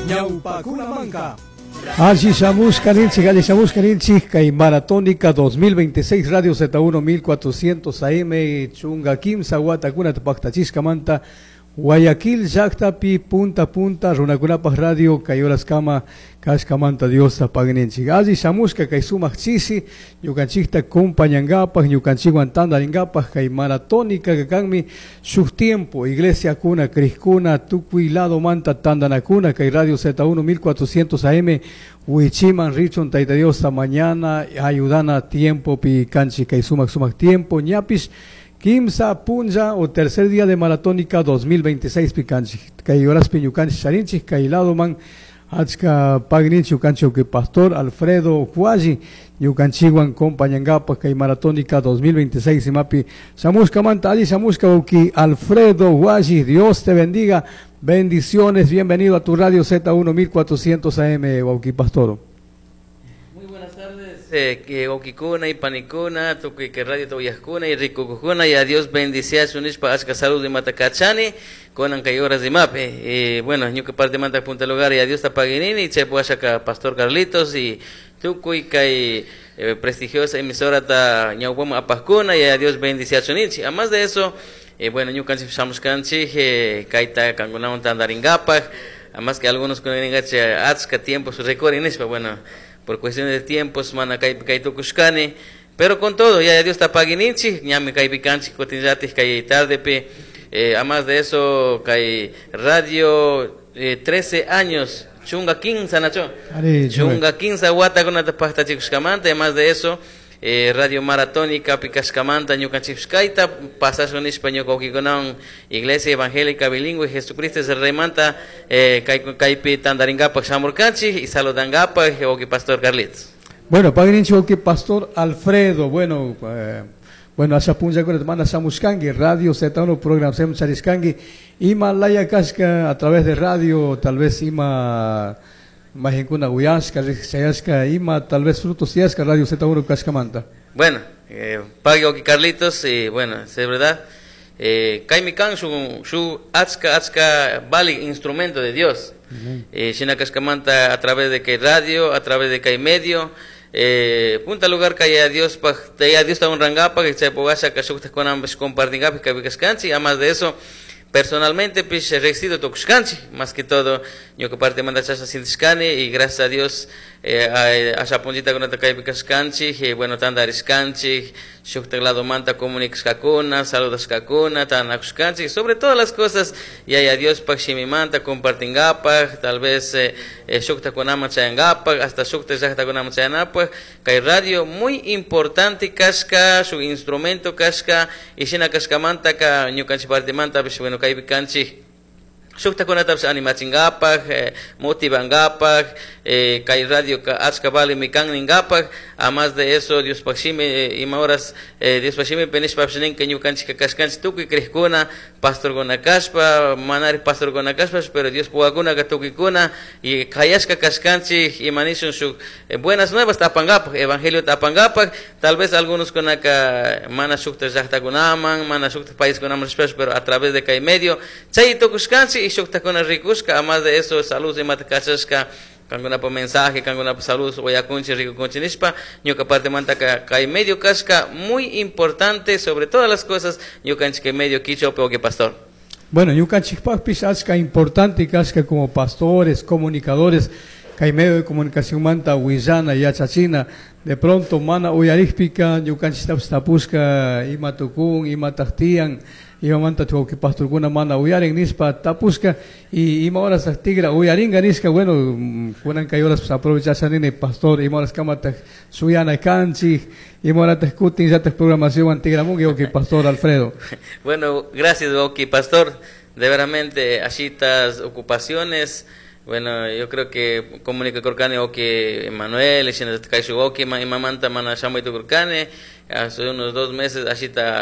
Ñawpakunamanka. Alli shamushka ninchik, alli shamushka ninchik, kay Maratónica 2026 Radio Z1 1400 AM chunga kimsa watakunata paktachishkamanta Guayaquil llaqtapi punta punta runakunapaq radio kay horaskama kashkamanta Diosta pagninchik. Alli shamushka kay sumaq chishi ñukanchikta compañangapaq ñukanchikwan tantaringapaq kay maratónica kanmi shuk tiempo iglesiakuna crikuna tukuy ladomanta tantanakuna kay Radio Z1 1400 AM wichiman richun Tayta Diosta mañana ayudana tiempopi kanchik kay sumaq sumaq tiempo ñapish kimsa punlla o tercer día de maratónica 2026 pikanchik kay horaspi ñukanchik charinchik kay ladoman achka pagninchik ñukanchik que pastor Alfredo Hualli ñukanchikwan compañangapaq kay maratónica 2026 imapi shamushkamanta alli shamushka wawki Alfredo Hualli. Dios te bendiga, bendiciones, bienvenido a tu radio Z1 1400 AM, wawki pastor. Muy buenas tardes, que wawkikuna y panikuna, tukuy que radio uyajkuna y rikukujuna, y a Dios bendicea nishpa achka salud imata kachani, kunan kay horas imapi. Bueno, ñuka parte manta punta lugar y a Dios tapaginini, chay puashaka pastor Carlitos y tukuy kay prestigiosa emisora ta ñawpama apajkuna y a Dios bendicea chunichi. Además de eso, bueno, ñukanchik shamushkanchik, kayta kankunawan tantaringapaj, además que algunos con achka tiempo su recorren nishpa, bueno, por cuestiones de tiempos mana kaypi kay tukushkani, pero con todo, ya Dios tapagininchik, ñami kaypi kanchik kutinllatik kay tardepi. Además de eso, kay radio 13 años, chunga quince, Nacho. Ari, chunga quince watakunata paktachikushkamanta, además de eso, radio maratónica pikashkamanta ñukanchikshkayta pasashun nishpa ñuka wawkikunawan Iglesia Evangélica Bilingüe Jesucristo es el Reymanta, kaypi tantaringapak shamurkanchik y saludangapak wawki pastor Carlitos. Bueno, pagninchik wawki pastor Alfredo, bueno, bueno, asha punllakunata mana shamushkanki Radio Z1 programa charishkanki ima laya kashka a través de radio, tal vez ima majinkuna uyashka, riqsishayashka, ima tal vez frutos tiyashka Radio Z1 kashkamanta. Bueno, pagui wawki Carlitos, y bueno, es verdad, kaymi kan shu achka, achka vali instrumento de Dios. Shina kashkamanta a través de kay radio, a través de kay medio, punta lugar kay a Dios pa, a Dios ta honrangapa, que chay pogasha ka shuktajkunawanpish compartingapi kaypi kashkanchik. Además de eso, personalmente pish recido tukushkanchik, más que todo ñuka parte manda chashna sintishkani y gracias a Dios, asha punllitakunata kaypi kashkanchik, bueno, tantarishkanchik, shuktak ladomanta comunicashkakuna, saludashkakuna, tantanakushkanchik, sobre todas las cosas, y a Dios pak shimimanta compartingapak, tal vez, shuktakunaman chayangapak, hasta shuktak llaqtakunaman chayanapak, kay radio muy importante kashka, shuk instrumento kashka, y shina kashkamanta ka ñukanchik partimanta, pues, bueno, kaypi kanchik, shuktakunatapish animachingapak, motivangapak, kay radio ka achka valimi kan ningapak. Además de eso, Dios shimi, ima horas, Dios shimi penishpa ninka ñukanchik kashkanchik tukuy crejkuna, pastorkuna kashpa, manari pastorkuna kashpa, pero Dios puwakuna ka tukuykuna, y kayashka kashkanchik, ima nishun shuk, buenas nuevas tapangapak, evangelio tapangapak, tal vez algunos kunaka mana shukta llaqtakunaman, mana shukta paiskunaman rishpash, pero a través de kay medio, chay tukushkanchik y shuktakuna rikushka. Además de eso, salud imata kachashka, kankunapa mensaje, kankunapa salud, uyakunchik, rikukunchik nishpa, ñuka parte manta ka kay medio kashka, muy importante sobre todas las cosas, ñukanchik kay medio quichua, que pastor. Bueno, ñukanchikpaqpis achka importante kashka como pastores, comunicadores, kay medio de comunicación manta willana yachachina, de pronto mana uyarikpika ñukanchiktapis tapushka ima tukun, ima taqtiyan, imamanta wawqi pastorkuna mana uyarin nishpa tapushka, y ima horas tigra uyaringa nishka, bueno, kunan kay horas pues aprovechasha nini pastor, ima horas kamataq suyana kanchik, ima horataq kutin llataq programación tigramunki wawqi pastor Alfredo. Bueno, gracias wawqi pastor, de veramente ashitas ocupaciones. Bueno, yo creo que comunica kurkani wawqi Emanuel, shinallataq kayshu wawqi imamanta mana shamuy tukurkani, hace unos 2 meses ashita.